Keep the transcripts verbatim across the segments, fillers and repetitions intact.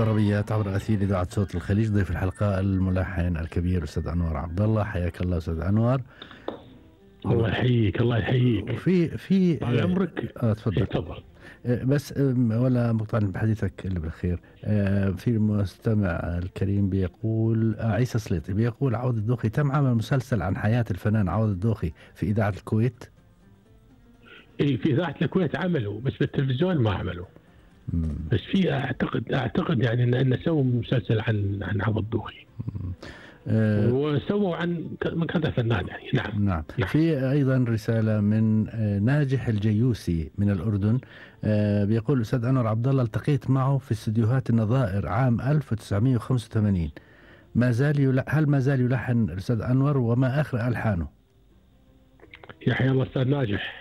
الطربيات عبر أثير إذاعة صوت الخليج. ضيف الحلقة الملحن الكبير أستاذ أنور عبد الله. حياك الله أستاذ أنور. الله يحييك. الله يحييك. وفي في طال عمرك. اه تفضل تفضل. بس ولا مقطع بحديثك اللي بالخير. في المستمع الكريم بيقول عيسى سليطي بيقول عوض الدوخي تم عمل مسلسل عن حياة الفنان عوض الدوخي في إذاعة الكويت. اي في إذاعة الكويت عملوا، بس بالتلفزيون ما عملوا. مم. بس في اعتقد اعتقد يعني ان ان سووا مسلسل عن عن عوض الدوخي. أه وسووا عن من كذا فنان يعني. نعم. نعم. نعم. في ايضا رساله من ناجح الجيوسي من الاردن. أه بيقول استاذ انور عبد الله التقيت معه في استديوهات النظائر عام ألف وتسعمائة وخمسة وثمانين. ما زال يلح... هل ما زال يلحن الاستاذ انور وما اخر الحانه؟ يا حيا الله استاذ ناجح.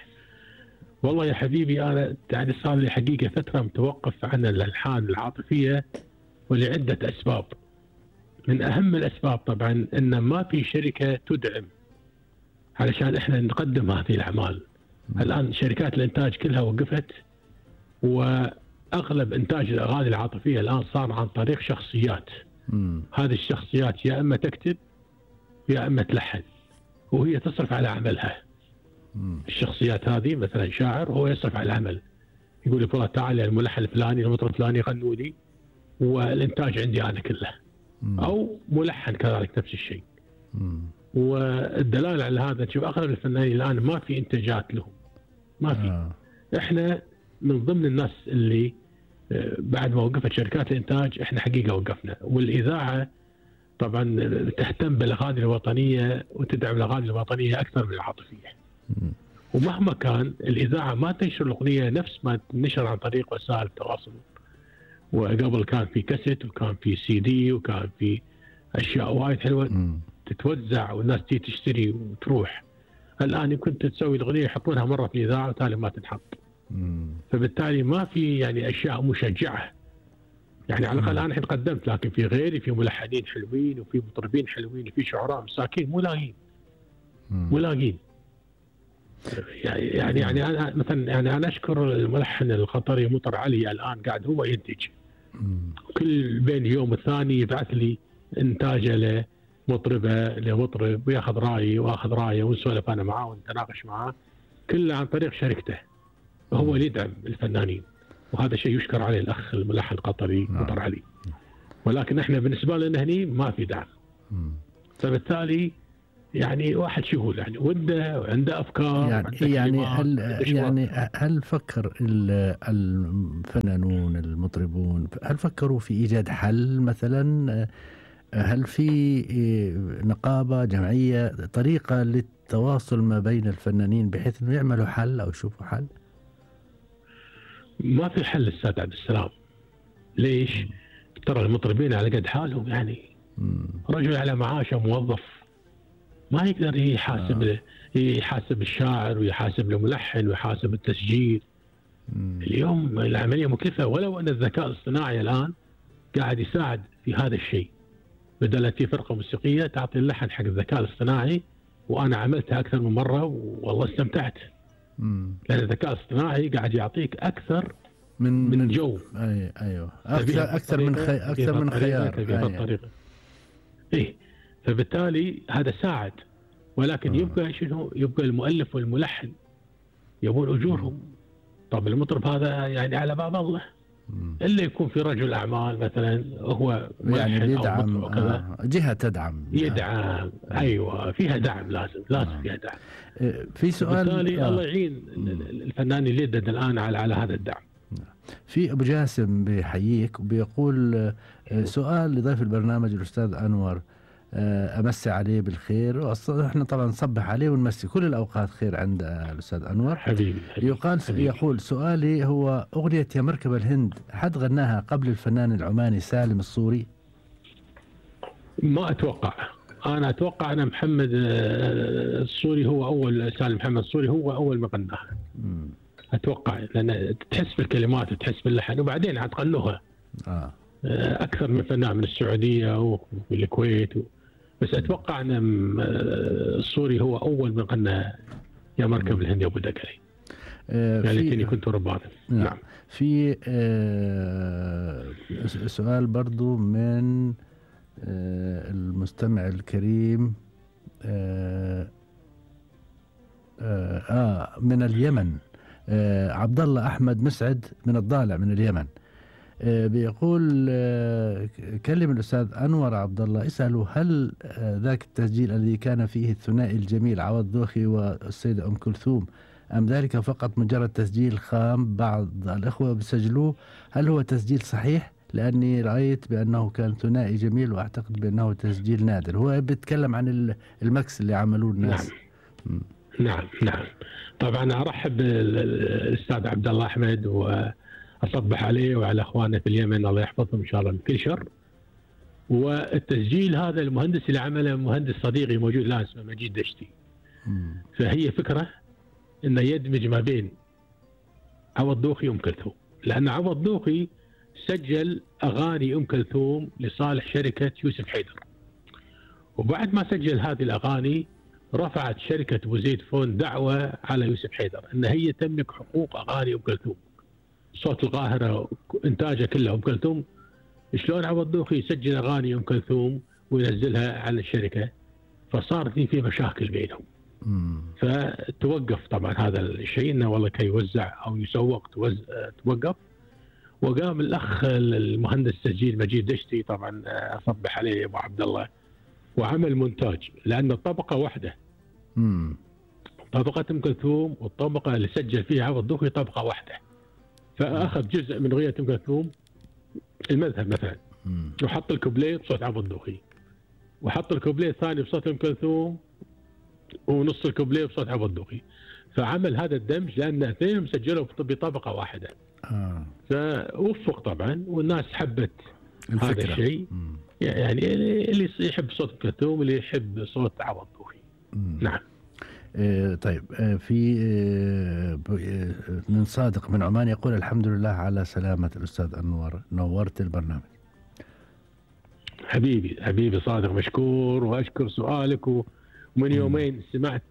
والله يا حبيبي انا يعني صار لي حقيقه فتره متوقف عن الالحان العاطفيه ولعده اسباب. من اهم الاسباب طبعا ان ما في شركه تدعم علشان احنا نقدم هذه الاعمال. م. الان شركات الانتاج كلها وقفت، واغلب انتاج الاغاني العاطفيه الان صار عن طريق شخصيات. م. هذه الشخصيات يا اما تكتب يا اما تلحن، وهي تصرف على عملها. م. الشخصيات هذه مثلا شاعر هو يصرف على العمل، يقول لك والله تعال الملحن الفلاني المطرب الفلاني يغنوا لي والانتاج عندي انا كله. مم. او ملحن كذلك نفس الشيء. مم. والدلاله على هذا تشوف اغلب الفنانين الان ما في انتاجات لهم، ما في. آه. احنا من ضمن الناس اللي بعد ما وقفت شركات الانتاج احنا حقيقه وقفنا. والاذاعه طبعا تهتم بالاغاني الوطنيه وتدعم الاغاني الوطنيه اكثر من العاطفيه. مم. ومهما كان الاذاعه ما تنشر الاغنيه نفس ما تنشر عن طريق وسائل التواصل. وقبل كان في كاسيت وكان في سي دي وكان في اشياء وايد حلوه م. تتوزع والناس تيجي تشتري وتروح. الان يمكن تسوي الاغنيه يحطونها مره في الاذاعه وتالي ما تنحط. م. فبالتالي ما في يعني اشياء مشجعه. يعني على الاقل انا الحين قدمت، لكن في غيري في ملحنين حلوين وفي مطربين حلوين وفي شعراء مساكين مو لاقين. مو لاقين. يعني يعني يعني انا مثلا يعني انا اشكر الملحن القطري مطر علي الان قاعد هو ينتج. كل بين يوم والثاني يبعث لي انتاجه لمطربه لمطرب وياخذ رايي واخذ رايه ونسولف انا معاه ونتناقش معاه، كله عن طريق شركته. وهو اللي يدعم الفنانين، وهذا شيء يشكر عليه الاخ الملحن القطري مطر علي. ولكن احنا بالنسبه لنا هني ما في دعم. فبالتالي يعني واحد شغول يعني وده وعنده افكار يعني يعني هل يعني هل فكر الفنانون المطربون هل فكروا في ايجاد حل مثلا؟ هل في نقابه جمعيه طريقه للتواصل ما بين الفنانين بحيث انه يعملوا حل او يشوفوا حل؟ ما في حل استاذ عبد السلام. ليش؟ م. ترى المطربين على قد حالهم يعني. م. رجل على معاشه موظف ما يقدر يحاسب آه. يحاسب الشاعر ويحاسب الملحن ويحاسب التسجيل. مم. اليوم العملية مكلفة، ولو أن الذكاء الاصطناعي الآن قاعد يساعد في هذا الشيء. بدل في فرقة موسيقية تعطي اللحن حق الذكاء الاصطناعي، وأنا عملتها أكثر من مرة والله استمتعت. مم. لأن الذكاء الاصطناعي قاعد يعطيك أكثر من من جو. أي أيوه أكثر أكثر من خي... أكثر من خيار. أيوه. إيه. فبالتالي هذا ساعد، ولكن يبقى شنو؟ يبقى المؤلف والملحن يبون اجورهم. طب المطرب هذا يعني على باب الله، الا يكون في رجل اعمال مثلا هو يعني يدعم آه. جهه تدعم يدعم آه. ايوه فيها دعم، لازم لازم آه. فيها دعم. في سؤال بالتالي آه. الله يعين الفنان اللي يدد الان على على هذا الدعم. في ابو جاسم بيحييك وبيقول سؤال لضيف البرنامج الاستاذ انور، أمسي عليه بالخير. احنا طبعا نصبح عليه ونمسي كل الأوقات خير عند الأستاذ أنور حبيبي, حبيبي يقال حبيبي. يقول سؤالي هو أغنية يا مركب الهند حد غناها قبل الفنان العماني سالم الصوري؟ ما أتوقع. أنا أتوقع أن محمد الصوري هو أول، سالم محمد الصوري هو أول ما غناها. أتوقع، لأن تحس بالكلمات وتحس باللحن وبعدين عاد غنوها آه. أكثر من فنان من السعودية والكويت و... بس أتوقع أن الصوري هو أول من غنى يا مركب الهند يا أبو دكري. آه يعني كنت ربانا. نعم. نعم. في آه سؤال برضو من المستمع الكريم آه, آه, آه من اليمن، آه عبد الله أحمد مسعد من الضالع من اليمن. آه بيقول آه كلم الأستاذ أنور عبد الله اسأله هل آه ذاك التسجيل الذي كان فيه الثنائي الجميل عوض دوخي والسيدة أم كلثوم أم ذلك فقط مجرد تسجيل خام بعض الأخوة بيسجلوه؟ هل هو تسجيل صحيح؟ لأني رأيت بأنه كان ثنائي جميل وأعتقد بأنه تسجيل نادر. هو بيتكلم عن المكس اللي عملوه الناس. نعم نعم, نعم. طبعا أرحب بالأستاذ عبد الله أحمد وأصبح عليه وعلى أخواننا في اليمن الله يحفظهم إن شاء الله من كل شر. والتسجيل هذا المهندس اللي عمله مهندس صديقي موجود الآن اسمه مجيد دشتي. فهي فكرة إنه يدمج ما بين عوض دوخي وأم كلثوم، لأن عوض دوخي سجل أغاني أم كلثوم لصالح شركة يوسف حيدر، وبعد ما سجل هذه الأغاني رفعت شركة أبو زيد فون دعوة على يوسف حيدر أن هي تملك حقوق أغاني أم كلثوم، صوت القاهرة إنتاجه كله أم كلثوم. شلون عوض دوخي يسجل أغاني أم كلثوم وينزلها على الشركة؟ فصارت في مشاكل بينهم. فتوقف طبعا هذا الشيء انه والله كي يوزع او يسوق توقف. وقام الاخ المهندس التسجيل مجيد دشتي طبعا اصبح عليه ابو عبد الله وعمل مونتاج، لان الطبقه واحده. امم طبقه ام كلثوم والطبقه اللي سجل فيها عوض دوخي طبقه واحده. فاخذ جزء من اغنيه ام كلثوم المذهب مثلا وحط الكوبليه بصوت عوض دوخي، وحط الكوبليه الثاني بصوت ام كلثوم ونص الكوبليه بصوت عوض دوخي. فعمل هذا الدمج لان اثنينهم سجلوا بطبقه واحده. آه. فوفق طبعا والناس حبت الفكرة. هذا الشيء يعني اللي يحب صوت ام كلثوم واللي يحب صوت عوض دوخي. نعم. آه طيب آه في آه من صادق من عمان يقول الحمد لله على سلامة الأستاذ أنور، نورت البرنامج. حبيبي حبيبي صادق مشكور، وأشكر سؤالك. ومن يومين سمعت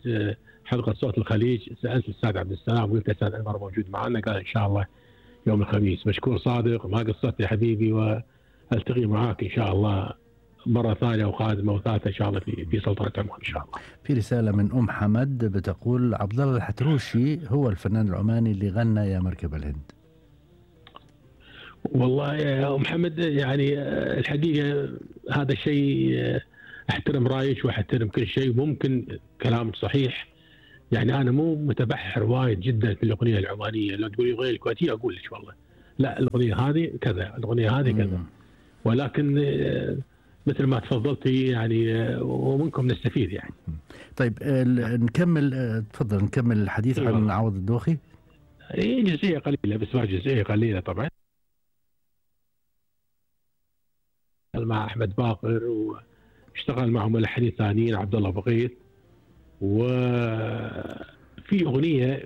حلقة صوت الخليج سألت الأستاذ عبد السلام وقلت الأستاذ أنور موجود معنا، قال إن شاء الله يوم الخميس. مشكور صادق، ما قصرت يا حبيبي، والتقي معاك إن شاء الله مرة ثانية وقادمة وثالثة إن شاء الله في في سلطنة عمان إن شاء الله. في رسالة من أم حمد بتقول عبد الله الحتروشي هو الفنان العماني اللي غنى يا مركب الهند. والله يا أم حمد يعني الحقيقة هذا الشيء احترم رايك واحترم كل شيء، ممكن كلامك صحيح. يعني انا مو متبحر وايد جدا في الاغنيه العمانيه، لو تقولي الاغنيه الكويتيه اقول لك والله لا الاغنيه هذه كذا، الاغنيه هذه كذا. ولكن مثل ما تفضلتي يعني ومنكم نستفيد يعني. طيب نكمل، تفضل نكمل الحديث عن أيوة. عوض الدوخي. اي جزئيه قليله بس، ما جزئيه قليله طبعا. مع احمد باقر واشتغل مع ملحنين ثانيين عبد الله بغيث. وفي اغنيه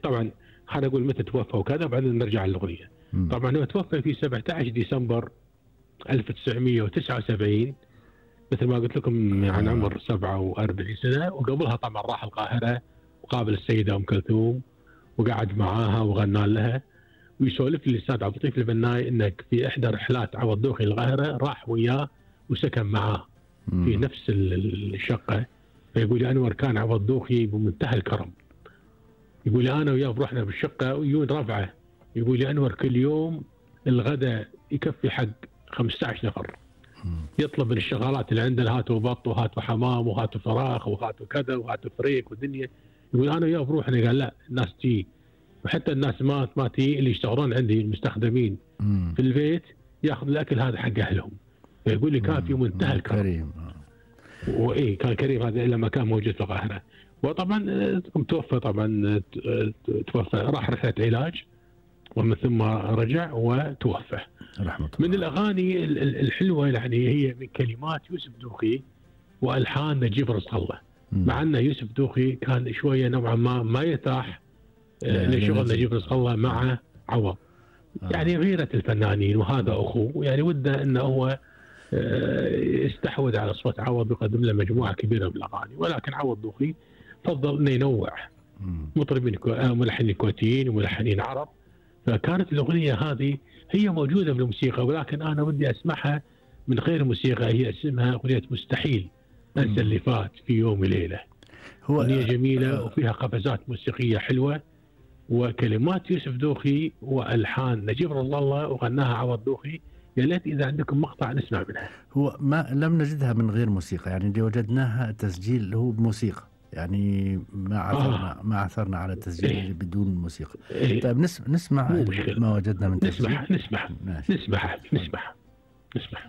طبعا خلينا نقول متى توفى وكذا وبعدين نرجع للاغنيه. طبعا هو توفى في سبعة عشر ديسمبر ألف وتسعمئة وتسعة وسبعين مثل ما قلت لكم عن عمر سبعة وأربعين سنه، وقبلها طبعا راح القاهره وقابل السيده ام كلثوم وقعد معاها وغنى لها. ويسولف لي الاستاذ عبد اللطيف البناي انك في احدى رحلات عوض دوخي القاهره راح وياه وسكن معاه في نفس الشقه. فيقول لي انور كان عوض دوخي بمنتهى الكرم، يقول لي انا وياه رحنا بالشقه ويون ربعه، يقول لي انور كل يوم الغداء يكفي حق خمسة عشر نفر، يطلب من الشغالات اللي عندنا هاتوا بط وهاتوا حمام وهاتوا فراخ وهاتوا كذا وهاتوا فريك ودنيا. يقول انا وياه بروحنا، قال لا الناس تجي، وحتى الناس ما ما تجي اللي يشتغلون عندي المستخدمين في البيت ياخذ الاكل هذا حق اهلهم. فيقول لي كان في منتهى الكرم. وايه كان كريم هذا لما كان موجود في القاهره. وطبعا توفى، طبعا توفى راح رحله علاج ومن ثم رجع وتوفى. رحمة من الاغاني الحلوه يعني هي من كلمات يوسف دوخي والحان نجيب رزق الله. مع ان يوسف دوخي كان شويه نوعا ما ما يرتاح لشغل نجيب رزق الله مع عوض. آه. يعني غيره الفنانين وهذا اخوه، يعني وده انه هو استحوذ على صوت عوض ويقدم له مجموعه كبيره من الاغاني. ولكن عوض دوخي فضل انه ينوع مطربين ملحنين كويتيين وملحنين عرب. فكانت الاغنيه هذه هي موجودة بالموسيقى، ولكن أنا ودي أسمعها من غير موسيقى. هي اسمها أغنية مستحيل أنسى اللي فات في يوم وليلة. هو أغنية جميلة وفيها قفزات موسيقية حلوة، وكلمات يوسف دوخي وألحان نجيب رضا الله وغناها عوض دوخي. يا ليت إذا عندكم مقطع نسمع منها. هو ما لم نجدها من غير موسيقى، يعني اللي وجدناها تسجيل هو بموسيقى، يعني ما عثرنا آه. ما عثرنا على تسجيل إيه؟ بدون موسيقى. إيه؟ طيب نسمع, نسمع ما وجدنا من تسجيل. نسمع نسمع نسمع نسمع نسمع